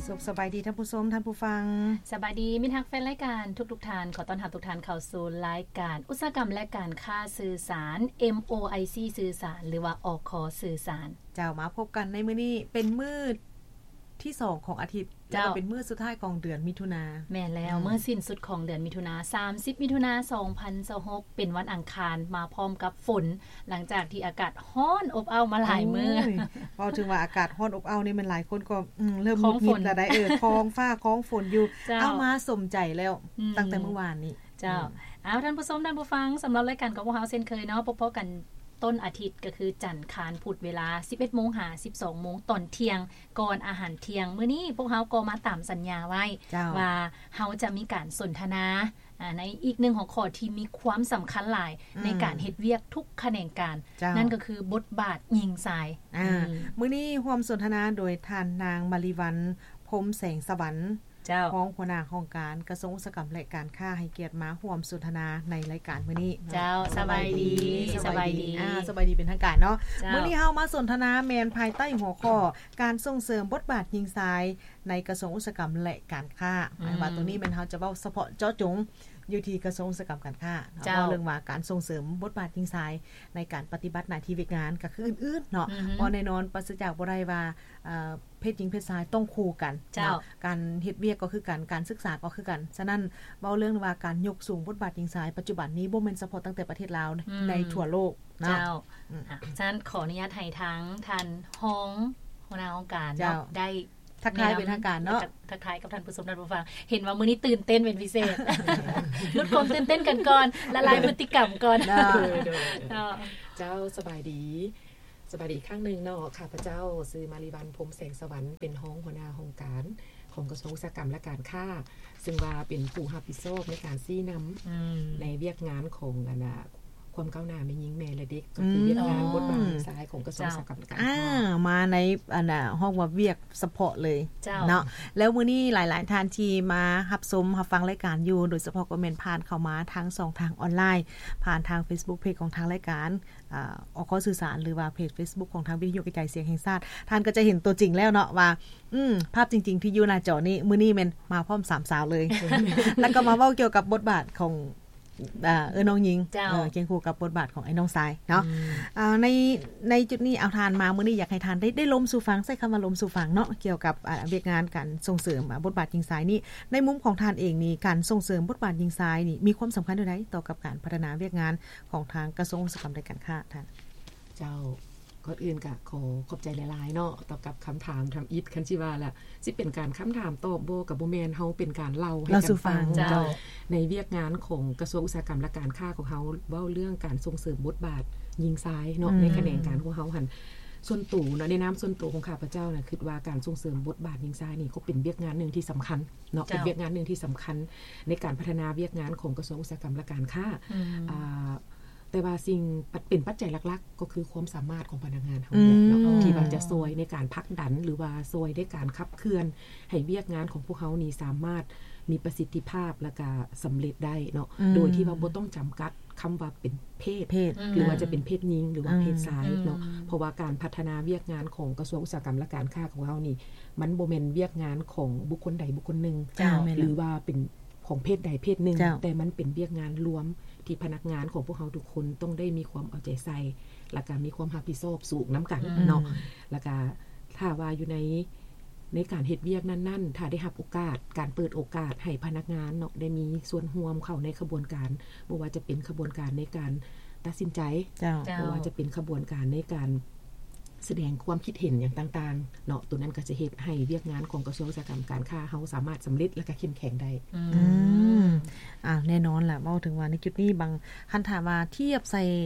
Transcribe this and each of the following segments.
ສຸກສະບາຍດີທ່ານຜູ້ຊົມ, ທ່ານຜູ້ຟັງ. ສະບາຍດີມິດຮັກແຟນລາຍການທຸກໆທ່ານ. ຂໍຕ້ອນຮັບທຸກທ່ານເຂົ້າສູ່ລາຍການອຸດສາຫະກຳ ແລະ ການຄ້າສື່ສານ ເອັມໂອໄອຊີ ສື່ສານ ຫຼືວ່າ ອຄ ສື່ສານ. ເຈົ້າ, ມາພົບກັນໃນມື້ນີ້ເປັນມື້ທີສອງຂອງອາທິດ ເຈົ້າ ແລ້ວກໍເປັນມື້ສຸດທ້າຍຂອງເດືອນມິຖຸນາ. ແມ່ນແລ້ວ, ອືມ ມື້ສິ້ນສຸດຂອງເດືອນມິຖຸນາ, ສາມສິບ ມິຖຸນາ ສອງພັນຊາວຫົກ ເປັນວັນອັງຄານ ມາພ້ອມກັບຝົນ ຫຼັງຈາກທີ່ອາກາດຮ້ອນອົບເອົ້າມາຫຼາຍມື້. ໂອ້ຍ ເວົ້າເຖິງວ່າອາກາດຮ້ອນອົບເອົ້ານີ້ ແມ່ນຫຼາຍຄົນກໍ ອືມ ເລີ່ມ ຄອງຝົນ ງຸດຫງິດແລ້ວໃດ໋. ເອີ ຄອງຟ້າຄອງຝົນຢູ່. ເຈົ້າ ເອົາ ມາສົມໃຈແລ້ວ ອືມ ຕັ້ງແຕ່ມື້ວານນີ້. ເຈົ້າ ອືມ ເອົາ ທ່ານຜູ້ຊົມ ທ່ານຜູ້ຟັງ, ສຳລັບລາຍການຂອງພວກເຮົາເຊັ່ນເຄີຍເນາະ, ພົບພໍ້ກັນຕົ້ນອາທິດ ກໍຄືຈັນ ຄານ ພຸດ ເວລາ ສິບເອັດໂມງ ຫາ ສິບສອງໂມງ ຕອນທ່ຽງ ກ່ອນອາຫານທ່ຽງ. ມື້ນີ້ພວກເຮົາກໍມາຕາມສັນຍາໄວ້ ເຈົ້າ ວ່າເຮົາຈະມີການສົນທະນາ ອາ ໃນອີກໜຶ່ງຫົວຂໍ້ທີ່ມີຄວາມສຳຄັນຫຼາຍ ອືມ ໃນການເຮັດວຽກທຸກຂະແໜງການ. ເຈົ້າ ນັ້ນກໍຄືບົດບາດຍິງຊາຍ. ອາ ອືມ ມື້ນີ້ຮ່ວມສົນທະນາໂດຍທ່ານນາງ ມາລີວັນ ພົມແສງສະຫວັນ ເຈົ້າ ຮອງຫົວໜ້າຫ້ອງການກະຊວງອຸດສາຫະກຳ ແລະ ການຄ້າ ໃຫ້ກຽດມາຮ່ວມສົນທະນາໃນລາຍການມື້ນີ້ເນາະ. ເຈົ້າ ສະບາຍດີ ສະບາຍດີ ສະບາຍດີ ອາ ສະບາຍດີເປັນທາງການເນາະ. ເຈົ້າ ມື້ນີ້ເຮົາມາສົນທະນາແມ່ນພາຍໃຕ້ຫົວຂໍ້ ການສົ່ງເສີມບົດບາດຍິງຊາຍໃນກະຊວງອຸດສາຫະກຳ ແລະ ການຄ້າ. ອືມ ໝາຍວ່າໂຕນີ້ແມ່ນເຮົາຈະເວົ້າສະເພາະເຈາະຈົງຢູ່ທີ່ກະຊວງອຸດສາຫະກຳການຄ້າເນາະ. ເຈົ້າ ເວົ້າເລື່ອງວ່າການສົ່ງເສີມບົດບາດຍິງຊາຍໃນການປະຕິບັດໜ້າທີ່ວຽກງານ ກໍຄືອື່ນໆເນາະ. ອືຮຶ ເພາະແນ່ນອນປາສະຈາກບໍ່ໄດ້ວ່າ ເອີ ເພດຍິງເພດຊາຍຕ້ອງຄູ່ກັນ ເຈົ້າ ເນາະ, ການເຮັດວຽກກໍຄືກັນ, ການສຶກສາກໍຄືກັນ. ສະນັ້ນ ເວົ້າເລື່ອງວ່າການຍົກສູງບົດບາດຍິງຊາຍປັດຈຸບັນນີ້ ບໍ່ແມ່ນສະເພາະຕັ້ງແຕ່ປະເທດລາວ ອືມ ໃນທົ່ວໂລກເນາະ. ເຈົ້າ ອືມ ອາ ສະນັ້ນ ຂໍອະນຸຍາດໃຫ້ທາງທ່ານຮອງຫົວໜ້າຫ້ອງການເນາະ ເຈົ້າ ໄດ້ ທັກທາຍເປັນທາງການເນາະ ແນະນຳ ທັກ ທັກທາຍກັບທ່ານຜູ້ຊົມທ່ານຜູ້ຟັງ. ເຫັນວ່າມື້ນີ້ຕື່ນເຕັ້ນເປັນພິເສດ ຫຼຸດຄວາມຕື່ນເຕັ້ນກັນກ່ອນ ລະລາຍພຶດຕິກຳກ່ອນເນາະ. ເຈົ້າ ສະບາຍດີ ສະບາຍດີອີກຄັ້ງໜຶ່ງເນາະ. ຂ້າພະເຈົ້າຊື່ ມາລີວັນ ພົມແສງສະຫວັນ ເປັນຮອງຫົວໜ້າຫ້ອງການຂອງກະຊວງອຸດສາຫະກຳ ແລະ ການຄ້າ ຊຶ່ງວ່າເປັນຜູ້ຮັບຜິດຊອບໃນການຊີ້ນຳ ອືມ ໃນວຽກງານຂອງ ອັນນ່າ ຄວາມກ້າວໜ້າແມ່ຍິງແມ່ ແລະ ເດັກ ກໍຄື ອືມ ວຽກງານບົດບາດຍິງຊາຍຂອງກະຊວງ ເຈົ້າ ອຸດສາຫະກຳ ແລະ ການຄ້າ ມາໃນ ອັນນ່າ ຮອງວ່າວຽກສະເພາະເລີຍ ເຈົ້າ ເນາະ. ແລ້ວມື້ນີ້ຫຼາຍໆທ່ານທີ່ມາຮັບຊົມຮັບຟັງລາຍການຢູ່ ໂດຍສະເພາະກໍແມ່ນຜ່ານເຂົ້າມາທາງຊ່ອງທາງອອນລາຍ ຜ່ານທາງເຟສບຸກເພຈຂອງທາງລາຍການ ອາ ອຄ ສື່ສານ ຫຼືວ່າເພຈເຟສບຸກຂອງທາງວິທະຍຸກະຈາຍສຽງແຫ່ງຊາດ, ທ່ານກໍຈະເຫັນຕົວຈິງແລ້ວເນາະວ່າ ອືມ ພາບຈິງໆທີ່ຢູ່ໜ້າຈໍນີ້ ມື້ນີ້ແມ່ນມາພ້ອມສາມສາວເລີຍ ແລ້ວກໍມາເວົ້າກ່ຽວກັບບົດບາດຂອງ ອາ ເອື້ອຍນ້ອງຍິງ ເຈົ້າ ເອີ ຄຽງຄູ່ກັບບົດບາດຂອງອ້າຍນ້ອງຊາຍເນາະ. ອືມ ອາ ໃນ ໃນຈຸດນີ້ ເອົາ ທ່ານມາມື້ນີ້ ຢາກໃຫ້ທ່ານໄດ້ ໄດ້ລົມສູ່ຟັງ, ໃຊ້ຄຳວ່າລົມສູ່ຟັງເນາະ ກ່ຽວກັບ ອາ ວຽກງານການສົ່ງເສີມ ອາ ບົດບາດຍິງຊາຍນີ້. ໃນມຸມຂອງທ່ານເອງນີ້ ການສົ່ງເສີມບົດບາດຍິງຊາຍນີ້ ມີຄວາມສຳຄັນແນວໃດຕໍ່ກັບການພັດທະນາວຽກງານຂອງທາງກະຊວງອຸດສາຫະກຳ ແລະ ການຄ້າ ທ່ານ? ເຈົ້າ ກ່ອນອື່ນກະຂໍຂອບໃຈຫຼາຍໆເນາະ ຕໍ່ກັບຄຳຖາມທຳອິດ. ຄັນຊິວ່າລະ ຊິເປັນການຄຳຖາມຕອບບໍ່ ກະບໍ່ແມ່ນ, ເຮົາເປັນການເລົ່າໃຫ້ກັນຟັງ ເຈົ້າ ໃນວຽກງານຂອງກະຊວງອຸດສາຫະກຳ ແລະ ການຄ້າຂອງເຮົາ ເວົ້າເລື່ອງການສົ່ງເສີມບົດບາດຍິງຊາຍເນາະ ອືມ ໃນຂະແໜງການຂອງເຮົາຫັ້ນ. ສ່ວນໂຕເນາະ ໃນນາມສ່ວນໂຕຂອງຂ້າພະເຈົ້ານະ ຄິດວ່າການສົ່ງເສີມບົດບາດຍິງຊາຍນີ້ ກໍເປັນວຽກງານໜຶ່ງທີ່ສຳຄັນເນາະ ເຈົ້າ ເປັນວຽກງານໜຶ່ງທີ່ສຳຄັນໃນການພັດທະນາວຽກງານຂອງກະຊວງອຸດສາຫະກຳ ແລະ ການຄ້າ ອືມ ອາ ແຕ່ວ່າສິ່ງ ປັດ ເປັນປັດໄຈຫຼັກໆ ກໍຄືຄວາມສາມາດຂອງພະນັກງານເຮົານີ້ແຫຼະເນາະ ອືມ ທີ່ວ່າຈະຊ່ອຍໃນການຜັກດັນ ຫຼືວ່າຊ່ອຍໃນການຂັບເຄື່ອນໃຫ້ວຽກງານຂອງພວກເຮົານີ້ສາມາດມີປະສິດທິພາບ ແລ້ວກະສຳເລັດໄດ້ເນາະ ອືມ ໂດຍທີ່ວ່າບໍ່ຕ້ອງຈຳກັດຄຳວ່າເປັນເພດ ເພດ ຫຼືວ່າຈະເປັນເພດຍິງ ຫຼືວ່າເພດຊາຍເນາະ ອືມ ເພາະວ່າການພັດທະນາວຽກງານຂອງກະຊວງອຸດສາຫະກຳ ແລະ ການຄ້າຂອງເຮົານີ້ ມັນບໍ່ແມ່ນວຽກງານຂອງບຸກຄົນໃດບຸກຄົນໜຶ່ງ ເຈົ້າ ແມ່ນ ຫຼືວ່າເປັນ ຂອງເພດໃດເພດໜຶ່ງ ເຈົ້າ ແຕ່ມັນເປັນວຽກງານລວມທີ່ພະນັກງານຂອງພວກເຮົາທຸກຄົນຕ້ອງໄດ້ມີຄວາມເອົາໃຈໃສ່ ແລ້ວກະມີຄວາມຮັບຜິດຊອບສູງນຳກັນ ອືມ ເນາະ ແລ້ວກະຖ້າວ່າຢູ່ໃນ ໃນການເຮັດວຽກນັ້ນໆ ຖ້າໄດ້ຮັບໂອກາດ ການເປີດໂອກາດໃຫ້ພະນັກງານເນາະ ໄດ້ມີສ່ວນຮ່ວມເຂົ້າໃນຂະບວນການ ບໍ່ວ່າຈະເປັນຂະບວນການໃນການຕັດສິນໃຈ ເຈົ້າ ເຈົ້າ ບໍ່ວ່າຈະເປັນຂະບວນການໃນການ ສະແດງຄວາມຄິດເຫັນຫຍັງຕ່າງໆເນາະ ໂຕນັ້ນກໍຈະເຮັດໃຫ້ວຽກງານຂອງກະຊວງອຸດສາຫະກຳການຄ້າເຮົາສາມາດສຳເລັດ ແລະ ກະເຂັ້ມແຂງໄດ້. ອືມ ອືມ ອ່າ ແນ່ນອນລະ ເວົ້າເຖິງວ່າໃນຈຸດນີ້ ບາງ ຄັນຖ້າວ່າທຽບໃສ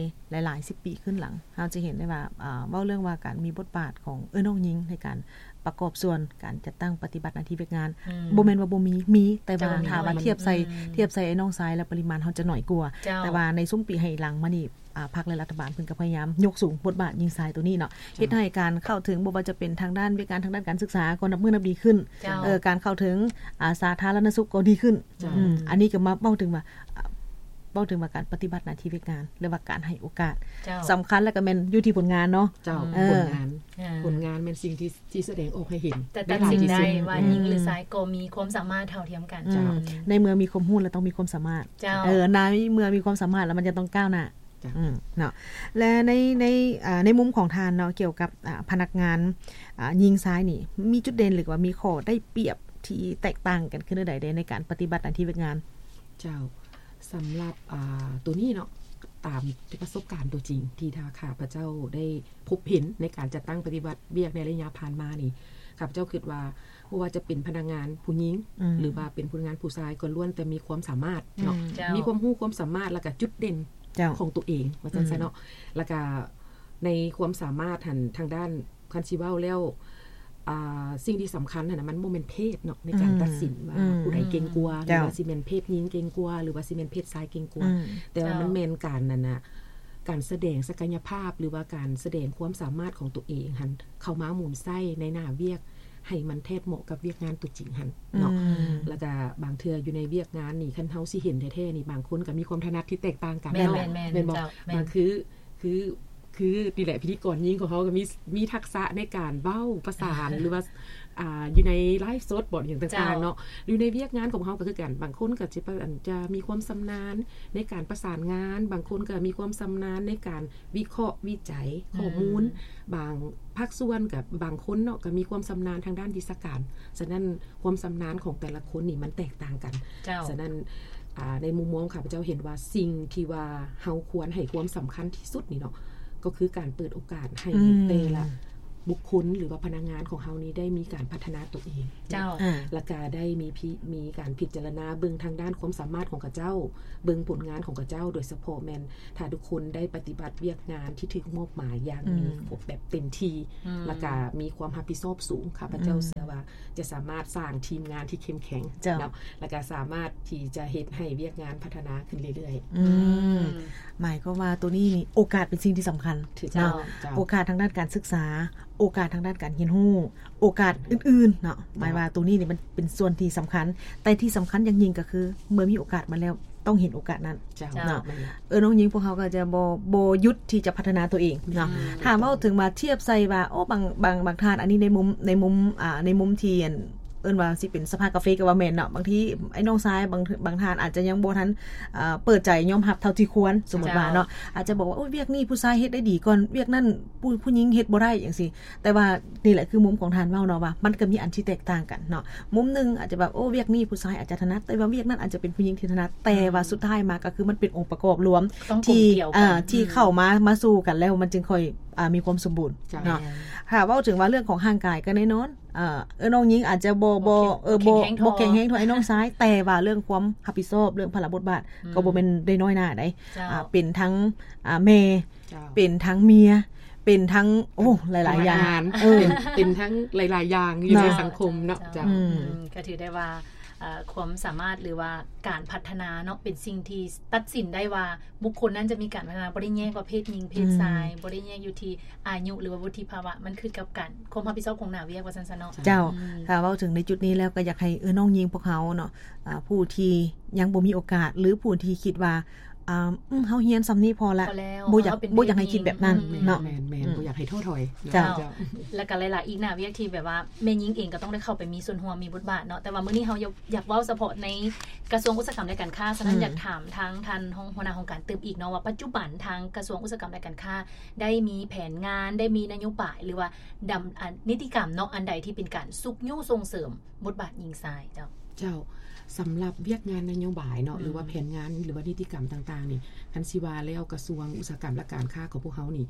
່ຫຼາຍໆສິບປີຂຶ້ນຫຼັງ ເຮົາຈະເຫັນໄດ້ວ່າ ອ່າ ເວົ້າເລື່ອງວ່າການມີບົດບາດຂອງເອື້ອຍນ້ອງຍິງໃນການປະກອບສ່ວນການຈັດຕັ້ງປະຕິບັດໜ້າທີ່ວຽກງານ ອືມ ບໍ່ແມ່ນວ່າບໍ່ມີ ມີ ແຕ່ວ່າ ເຈົ້າ ຖ້າວ່າ ມີ ທຽບໃສ່ ອືມ ທຽບໃສ່ອ້າຍນ້ອງຊາຍ ແລະ ປະລິມານເຮົາຈະໜ້ອຍກວ່າ ເຈົ້າ ແຕ່ວ່າໃນຊຸມປີໃຫ້ຫຼັງມານີ້ ອ່າ ພັກ ແລະ ລັດຖະບານເພິ່ນກໍພະຍາຍາມຍົກສູງບົດບາດຍິງຊາຍໂຕນີ້ເນາະ ເຈົ້າ ເຮັດໃຫ້ການເຂົ້າເຖິງ ບໍ່ວ່າຈະເປັນທາງດ້ານວຽກງານ ທາງດ້ານການສຶກສາກໍນັບມື້ນັບດີຂຶ້ນ ເຈົ້າ ເອີ ການເຂົ້າເຖິງ ອາ ສາທາລະນະສຸກກໍດີຂຶ້ນ ເຈົ້າ ອືມ ອັນນີ້ກໍມາເວົ້າເຖິງວ່າ ອ່າ ເວົ້າເຖິງວ່າການປະຕິບັດໜ້າທີ່ວຽກງານ ຫຼືວ່າການໃຫ້ໂອກາດ ເຈົ້າ ສຳຄັນ ແລ້ວກໍແມ່ນຢູ່ທີ່ຜົນງານເນາະ ເຈົ້າ ເອີ ຜົນງານ ອ່າ ຜົນງານແມ່ນສິ່ງທີ່ ທີ່ສະແດງອອກໃຫ້ເຫັນ ແຕ່ຕັດສິນໄດ້ວ່າຍິງ ອືມ ຫຼືຊາຍກໍມີຄວາມສາມາດເທົ່າທຽມກັນ ເຈົ້າ ອືມ ໃນເມື່ອມີຄວາມຮູ້ແລ້ວຕ້ອງມີຄວາມສາມາດ ເຈົ້າ ເອີ ໃນເມື່ອມີຄວາມສາມາດແລ້ວມັນຈະຕ້ອງກ້າວໜ້າ ເຈົ້າ ອືມ ເນາະ ແລະ ໃນ ໃນ ອ່າ ໃນມຸມຂອງທ່ານເນາະ ກ່ຽວກັບ ອ່າ ພະນັກງານ ອ່າ ຍິງຊາຍນີ້ ມີຈຸດເດັ່ນ ຫຼືວ່າມີຂໍ້ໄດ້ປຽບທີ່ແຕກຕ່າງກັນຄືແນວໃດໃດ ໃນການປະຕິບັດໜ້າທີ່ວຽກງານ? ເຈົ້າ ສຳລັບ ອ່າ ໂຕນີ້ເນາະ ຕາມປະສົບການຕົວຈິງທີ່ທາງຂ້າພະເຈົ້າໄດ້ພົບເຫັນໃນການຈັດຕັ້ງປະຕິບັດວຽກໃນໄລຍະຜ່ານມານີ້ ຂ້າພະເຈົ້າຄິດວ່າ ບໍ່ວ່າຈະເປັນພະນັກງານຜູ້ຍິງ ອືມ ຫຼືວ່າເປັນພະນັກງານຜູ້ຊາຍ ກໍລ້ວນແຕ່ມີຄວາມສາມາດເນາະ ອືມ ເຈົ້າ ມີຄວາມຮູ້ຄວາມສາມາດ ແລ້ວກະຈຸດເດັ່ນ ເຈົ້າ ຂອງຕົວເອງ ວ່າຊັ້ນຊະເນາະ ອືມ ແລ້ວກະໃນຄວາມສາມາດຫັ້ນ ທາງດ້ານ ຄັນຊິເວົ້າແລ້ວ ອ່າ ສິ່ງທີ່ສຳຄັນຫັ້ນນະ ມັນບໍ່ແມ່ນເພດເນາະ ໃນການ ອືມ ຕັດສິນວ່າ ອືມ ຜູ້ໃດເກັ່ງກວ່າ ອືມ ຫຼືວ່າ ເຈົ້າ ຊິແມ່ນເພດຍິງເກັ່ງກວ່າ ຫຼືວ່າຊິແມ່ນເພດຊາຍເກັ່ງກວ່າ ອືມ ແຕ່ວ່າ ເຈົ້າ ມັນແມ່ນການນັ້ນນະ ການສະແດງສັກກະຍະພາບ ຫຼືວ່າການສະແດງຄວາມສາມາດຂອງຕົວເອງຫັ້ນ ເຂົ້າມາໝູນໃຊ້ໃນໜ້າວຽກ ໃຫ້ມັນແທດເໝາະກັບວຽກງານຕົວຈິງຫັ້ນເນາະ ອືມ ແລ້ວກະບາງເທື່ອຢູ່ໃນວຽກງານນີ້ ຄັນເຮົາຊິເຫັນແທ້ໆນີ້ ບາງຄົນກໍມີຄວາມຖະໜັດທີ່ແຕກຕ່າງກັນ ແມ່ນ ເນາະ ແມ່ນ ແມ່ນ ແມ່ນບໍ່? ເຈົ້າ ບາງ ແມ່ນ ຄື ຄື ຄືນີ້ແຫຼະ ພິທີກອນຍິງຂອງເຮົາກໍມີ ມີທັກສະໃນການເວົ້າປະສານ ຫຼືວ່າ ອ່າ ຢູ່ໃນໄລຟ໌ສົດບໍ ຫຍັງຕ່າງໆ ເຈົ້າ ເນາະ ຢູ່ໃນວຽກງານຂອງເຮົາກໍຄືກັນ ບາງຄົນກໍຈະ ຈະມີຄວາມຊຳນານໃນການປະສານງານ ບາງຄົນກໍມີຄວາມຊຳນານໃນການວິເຄາະວິໄຈ ອືມ ຂໍ້ມູນ ບາງພາກສ່ວນກັບບາງຄົນເນາະ ກໍມີຄວາມຊຳນານທາງດ້ານວິຊາການ ສະນັ້ນ ຄວາມຊຳນານຂອງແຕ່ລະຄົນນີ້ມັນແຕກຕ່າງກັນ ເຈົ້າ ສະນັ້ນ ອ່າ ໃນມຸມມອງຂ້າພະເຈົ້າເຫັນວ່າ ສິ່ງທີ່ວ່າເຮົາຄວນໃຫ້ຄວາມສຳຄັນທີ່ສຸດນີ້ເນາະ ກໍຄືການເປີດໂອກາດໃຫ້ ອືມ ແຕ່ລະບຸກຄົນ ຫຼືວ່າພະນັກງານຂອງເຮົານີ້ໄດ້ມີການພັດທະນາຕົວເອງ ເຈົ້າ ອາ ແລ້ວກະໄດ້ມີພິ ມີການພິຈາລະນາເບິ່ງທາງດ້ານຄວາມສາມາດຂອງເຂົາເຈົ້າ ເບິ່ງຜົນງານຂອງເຂົາເຈົ້າ ໂດຍສະເພາະແມ່ນ ຖ້າທຸກຄົນໄດ້ປະຕິບັດວຽກງານທີ່ຖືກມອບໝາຍຢ່າງ ອືມ ມີ ແບບເຕັມທີ່ ອືມ ແລ້ວກະມີຄວາມຮັບຜິດຊອບສູງ ຂ້າພະເຈົ້າ ອືມ ເຊື່ອວ່າຈະສາມາດສ້າງທີມງານທີ່ເຂັ້ມແຂງ ເຈົ້າ ເນາະ ແລ້ວກະສາມາດທີ່ຈະເຮັດໃຫ້ວຽກງານພັດທະນາຂຶ້ນເລື້ອຍໆ ອືມ ອືມ ໝາຍຄວາມວ່າໂຕນີ້ນີ້ ໂອກາດເປັນສິ່ງທີ່ສຳຄັນ ຖືກຕ້ອງ ເຈົ້າ ເຈົ້າ ໂອກາດທາງດ້ານການສຶກສາ ໂອກາດທາງດ້ານການຮຽນຮູ້ ໂອກາດອື່ນໆ ເນາະ ເຈົ້າ ໝາຍວ່າໂຕນີ້ນີ້ມັນເປັນສ່ວນທີ່ສຳຄັນ ແຕ່ທີ່ສຳຄັນຢ່າງຍິ່ງກໍຄື ເມື່ອມີໂອກາດມາແລ້ວ ຕ້ອງເຫັນໂອກາດນັ້ນ ເຈົ້າ ເນາະ ແມ່ນ ເອີ ນ້ອງຍິງພວກເຮົາກໍຈະບໍ່ ບໍ່ຢຸດທີ່ຈະພັດທະນາຕົວເອງເນາະ ອືມ ຖ້າເວົ້າເຖິງວ່າທຽບໃສ່ວ່າ ໂອ້ ບາງ ບາງ ບາງທ່ານ ອັນນີ້ໃນມຸມ ໃນມຸມ ອ່າ ໃນມຸມທີ່ ອັນ ເອີ້ນວ່າຊິເປັນສະພາກາເຟກໍວ່າແມ່ນເນາະ ບາງທີໄອ້ນ້ອງຊາຍ ບາງ ບາງທ່ານອາດຈະຍັງບໍ່ທັນ ເອີ ເປີດໃຈຍອມຮັບເທົ່າທີ່ຄວນ ສົມມຸດວ່າເນາະ ເຈົ້າ ອາດຈະບອກວ່າ ໂອ້ຍ ວຽກນີ້ຜູ້ຊາຍເຮັດໄດ້ດີກ່ອນ ວຽກນັ້ນຜູ້ ຜູ້ຍິງເຮັດບໍ່ໄດ້ ຈັ່ງຊີ້ ແຕ່ວ່ານີ້ແຫຼະ ຄືມຸມຂອງທ່ານເວົ້າເນາະ ວ່າມັນກໍມີອັນທີ່ແຕກຕ່າງກັນເນາະ ມຸມໜຶ່ງອາດຈະແບບ ໂອ້ ວຽກນີ້ຜູ້ຊາຍອາດຈະຖະໜັດ ແຕ່ວ່າວຽກນັ້ນອາດຈະເປັນຜູ້ຍິງທີ່ຖະໜັດ ແຕ່ວ່າ ອືມ ສຸດທ້າຍມາກໍຄືມັນເປັນອົງປະກອບລວມທີ່ ທີ່ເຂົ້າມາ ມາສູ່ກັນແລ້ວ ມັນຈຶ່ງຄ່ອຍ ອ່າ ມີຄວາມສົມບູນ ເຈົ້າ ເນາະ ແມ່ນ ຖ້າເວົ້າເຖິງວ່າເລື່ອງຂອງຮ່າງກາຍກໍແນ່ນອນ ເອີ ເອີ ນ້ອງຍິງອາດຈະບໍ່ ບໍ່ ບໍ່ແຂງ ເອີ ບໍ່ແຂງແຮງເທົ່າ ບໍ່ແຂງແຮງເທົ່າໄອ້ນ້ອງຊາຍ ແຕ່ວ່າເລື່ອງຄວາມຮັບຜິດຊອບ ເລື່ອງພາລະບົດບາດ ອືມ ກໍບໍ່ແມ່ນໄດ້ນ້ອຍໜ້າໃດ ເຈົ້າ ອ່າ ເປັນທັງ ອ່າ ແມ່ ເຈົ້າ ເປັນທັງເມຍ ເປັນທັງ ໂອ້ ຫຼາຍໆຢ່າງ ເອີ ເປັນ ເປັນທັງຫຼາຍໆຢ່າງຢູ່ໃນສັງຄົມເນາະ ເຈົ້າ ເຈົ້າ ອືມ ອືມ ກໍຖືໄດ້ວ່າ ເອີ ຄວາມສາມາດ ຫຼືວ່າການພັດທະນາເນາະ ເປັນສິ່ງທີ່ຕັດສິນໄດ້ວ່າ ບຸກຄົນນັ້ນຈະມີການພັດທະນາ ບໍ່ໄດ້ແຍກວ່າເພດຍິງເພດຊາຍ ອືມ ບໍ່ໄດ້ແຍກຢູ່ທີ່ອາຍຸ ຫຼືວ່າວຸດທິພາວະ ມັນຂຶ້ນກັບການ ຄວາມຮັບຜິດຊອບຂອງໜ້າວຽກວ່າຊັ້ນຊະເນາະ ເຈົ້າ ອືມ ຖ້າເວົ້າເຖິງໃນຈຸດນີ້ແລ້ວ ກໍຢາກໃຫ້ເອື້ອຍນ້ອງຍິງພວກເຮົາເນາະ ອ່າ ຜູ້ທີ່ຍັງບໍ່ມີໂອກາດ ຫຼືຜູ້ທີ່ຄິດວ່າ ອ່າ ອືມ ເຮົາຮຽນສ່ຳນີ້ພໍລະ ບໍ່ຢາກ ບໍ່ຢາກໃຫ້ຄິດແບບນັ້ນເນາະ ແມ່ນໆ ອືມ ບໍ່ຢາກໃຫ້ທໍ້ຖອຍ ເຈົ້າ ເຈົ້າ ແລ້ວກໍຫຼາຍໆອີກໜ້າວຽກທີ່ແບບວ່າແມ່ຍິງເອງກໍຕ້ອງໄດ້ເຂົ້າໄປມີສ່ວນຮ່ວມ ມີບົດບາດເນາະ ແຕ່ວ່າມື້ນີ້ເຮົາຢາກ ຢາກເວົ້າສະເພາະໃນກະຊວງອຸດສາຫະກຳ ແລະ ການຄ້າ ສະນັ້ນ ອືມ ຢາກຖາມທາງທ່ານຮອງຫົວໜ້າຫ້ອງການຕື່ມອີກເນາະ ວ່າປັດຈຸບັນທາງກະຊວງອຸດສາຫະກຳ ແລະ ການຄ້າ ໄດ້ມີແຜນງານ ໄດ້ມີນະໂຍບາຍ ຫຼືວ່າດຳ ອາ ນິຕິກຳເນາະ ອັນໃດທີ່ເປັນການຊຸກຍູ້ສົ່ງເສີມບົດບາດຍິງຊາຍເຈົ້າ? ເຈົ້າ ສຳລັບວຽກງານນະໂຍບາຍເນາະ ອືມ ຫຼືວ່າແຜນງານ ຫຼືວ່ານິຕິກຳຕ່າງໆນີ້ ຄັນຊິວ່າແລ້ວ ກະຊວງອຸດສາຫະກຳ ແລະ ການຄ້າຂອງພວກເຮົານີ້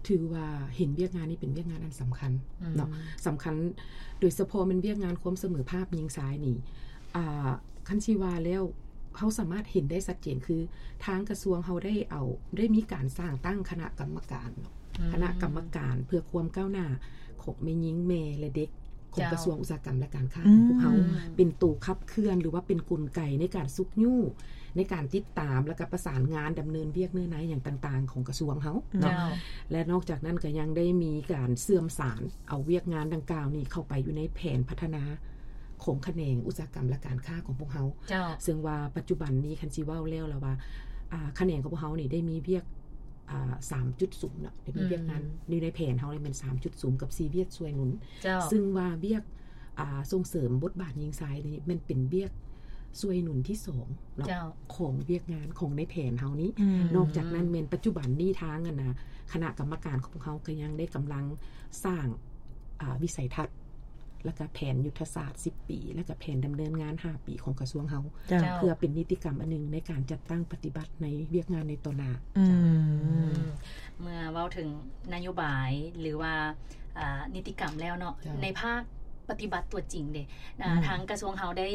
ຖືວ່າເຫັນວຽກງານນີ້ເປັນວຽກງານອັນສຳຄັນ ອືມ ເນາະ ສຳຄັນ ໂດຍສະເພາະແມ່ນວຽກງານຄວາມສະເໝີພາບຍິງຊາຍນີ້ ອ່າ ຄັນຊິວ່າແລ້ວ ເຮົາສາມາດເຫັນໄດ້ຊັດເຈນ ຄືທາງກະຊວງເຮົາໄດ້ເອົາ ໄດ້ມີການສ້າງຕັ້ງຄະນະກຳມະການເນາະ ອືມ ຄະນະກຳມະການເພື່ອຄວາມກ້າວໜ້າຂອງແມ່ຍິງ ແມ່ ແລະ ເດັກ ຂອງ ເຈົ້າ ກະຊວງອຸດສາຫະກຳ ແລະ ການຄ້າ ອືມ ຂອງພວກເຮົາ ອືມ ເປັນໂຕຂັບເຄື່ອນ ຫຼືວ່າເປັນກົນໄກໃນການຊຸກຍູ້ ໃນການຕິດຕາມ ແລ້ວກໍປະສານງານດຳເນີນວຽກເນື້ອໃນຫຍັງຕ່າງໆຂອງກະຊວງເຮົາເນາະ ເຈົ້າ ແລະ ນອກຈາກນັ້ນກໍຍັງໄດ້ມີການເຊື່ອມສານເອົາວຽກງານດັ່ງກ່າວນີ້ເຂົ້າໄປຢູ່ໃນແຜນພັດທະນາຂອງຂະແໜງອຸດສາຫະກຳ ແລະ ການຄ້າຂອງພວກເຮົາ ເຈົ້າ ເຊິ່ງວ່າປັດຈຸບັນນີ້ ຄັນຊິເວົ້າແລ້ວລະວ່າ ອ່າ ຂະແໜງຂອງພວກເຮົານີ້ໄດ້ມີວຽກ ອ່າ ສາມຈຸດສູງເນາະ ໄດ້ມີວຽກງານ ອືມ ຢູ່ໃນແຜນເຮົານີ້ແມ່ນ ສາມຈຸດສູງ ກັບ ສີ່ ວຽກຊ່ວຍໜູນ ເຈົ້າ ຊຶ່ງວ່າວຽກ ອ່າ ສົ່ງເສີມບົດບາດຍິງຊາຍນີ້ແມ່ນເປັນວຽກຊ່ວຍໜູນທີສອງເນາະ ເຈົ້າ ຂອງວຽກງານຂອງໃນແຜນເຮົານີ້ ອືມ ນອກຈາກນັ້ນແມ່ນປັດຈຸບັນນີ້ທາງ ອັນນະ ຄະນະກຳມະການຂອງພວກເຮົາກໍຍັງໄດ້ກຳລັງສ້າງ ອ່າ ວິໄສທັດ ແລ້ວກະແຜນຍຸດທະສາດສິບປີ ແລ້ວກະແຜນດຳເນີນງານຫ້າປີຂອງກະຊວງເຮົາ ເຈົ້າ ເພື່ອເປັນນິຕິກຳອັນໜຶ່ງໃນການຈັດຕັ້ງປະຕິບັດໃນວຽກງານໃນຕໍ່ໜ້າ ອືມ ເຈົ້າ ເມື່ອເວົ້າເຖິງນະໂຍບາຍ ຫຼືວ່າ ອ່າ ນິຕິກຳແລ້ວເນາະ ເຈົ້າ ໃນພາກປະຕິບັດຕົວຈິງເດ ອ່າ ອືມ ທາງກະຊວງເຮົາໄດ້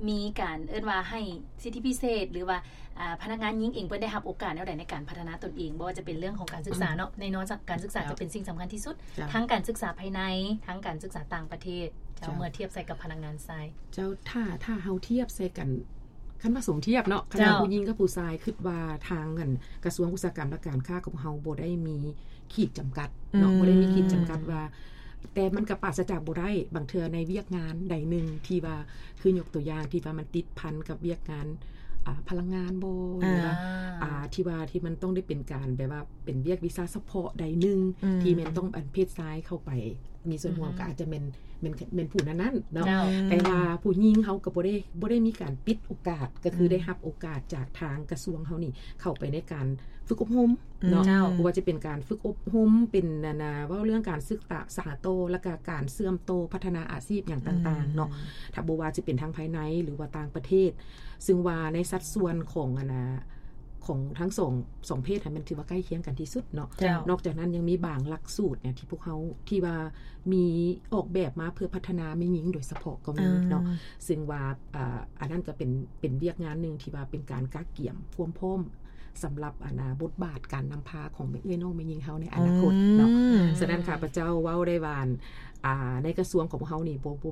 ມີການເອີ້ນວ່າໃຫ້ສິດທິພິເສດ ຫຼືວ່າ ອ່າ ພະນັກງານຍິງເອງເພິ່ນໄດ້ຮັບໂອກາດແນວໃດໃນການພັດທະນາຕົນເອງ ບໍ່ວ່າຈະເປັນເລື່ອງຂອງການສຶກສາເນາະ ອືມ ແນ່ນອນ ການສຶກສາ ເຈົ້າ ຈະເປັນສິ່ງສຳຄັນທີ່ສຸດ ເຈົ້າ ທັງການສຶກສາພາຍໃນ ທັງການສຶກສາຕ່າງປະເທດ ເຈົ້າ ເຈົ້າ ເມື່ອທຽບໃສ່ກັບພະນັກງານຊາຍ ເຈົ້າ ຖ້າ ຖ້າເຮົາທຽບໃສ່ກັນ ຄັນວ່າສົມທຽບເນາະ ຄັນວ່າ ເຈົ້າ ຜູ້ຍິງກັບຜູ້ຊາຍ ຄິດວ່າທາງ ອັນ ກະຊວງອຸດສາຫະກຳ ແລະ ການຄ້າຂອງເຮົາບໍ່ໄດ້ມີຂີດຈຳກັດເນາະ ອືມ ບໍ່ໄດ້ມີຂີດຈຳກັດວ່າ ແຕ່ມັນກໍປາສະຈາກບໍ່ໄດ້ ບາງເທື່ອໃນວຽກງານໃດໜຶ່ງທີ່ວ່າ ຄືຍົກຕົວຢ່າງທີ່ວ່າມັນຕິດພັນກັບວຽກງານ ອ່າ ພະລັງງານບໍ ຫຼືວ່າ ອ່າ ອ່າ ທີ່ວ່າທີ່ມັນຕ້ອງໄດ້ເປັນການແບບວ່າເປັນວຽກວິຊາສະເພາະໃດໜຶ່ງ ອືມ ທີ່ແມ່ນຕ້ອງອັນເພດຊາຍເຂົ້າໄປມີສ່ວນຮ່ວມ ອືຮຶ ກໍອາດຈະແມ່ນ ແມ່ນ ແມ່ນຜູ້ນັ້ນໆເນາະ ເຈົ້າ ແຕ່ວ່າຜູ້ຍິງເຮົາກໍບໍ່ໄດ້ ບໍ່ໄດ້ມີການປິດໂອກາດ ກໍຄື ອືມ ໄດ້ຮັບໂອກາດຈາກທາງກະຊວງເຮົານີ້ເຂົ້າໄປໃນການຝຶກອົບຮົມ ເນາະ ເຈົ້າ ບໍ່ວ່າຈະເປັນການຝຶກອົບຮົມ ເປັນ ອັນນະ ເວົ້າເລື່ອງການສຶກສາຕໍ່ ແລ້ວກະການເຊື່ອມຕໍ່ພັດທະນາອາຊີບຫຍັງຕ່າງໆເນາະ ອືມ ຖ້າບໍ່ວ່າຈະເປັນທາງພາຍໃນ ຫຼືວ່າຕ່າງປະເທດ ຊຶ່ງວ່າໃນສັດສ່ວນຂອງ ອັນນະ ຂອງທັງສອງ ສອງເພດຫັ້ນ ແມ່ນຖືວ່າໃກ້ຄຽງກັນທີ່ສຸດເນາະ ເຈົ້າ ນອກຈາກນັ້ນຍັງມີບາງຫຼັກສູດເນຍ ທີ່ພວກເຮົາ ທີ່ວ່າມີອອກແບບມາເພື່ອພັດທະນາແມ່ຍິງໂດຍສະເພາະກໍມີເນາະ ອ່າ ຊຶ່ງວ່າ ອ່າ ອັນນັ້ນກໍເປັນ ເປັນວຽກງານໜຶ່ງທີ່ວ່າເປັນການກະກຽມຄວາມພ້ອມ ສຳລັບ ອັນນະ ບົດບາດການນຳພາຂອງແມ່ເອື້ອຍນ້ອງແມ່ຍິງເຮົາໃນອະນາຄົດເນາະ ອືມ ສະນັ້ນຂ້າພະເຈົ້າເວົ້າໄດ້ວ່າ ອ່າ ໃນກະຊວງຂອງພວກເຮົານີ້ ບໍ່ ບໍ່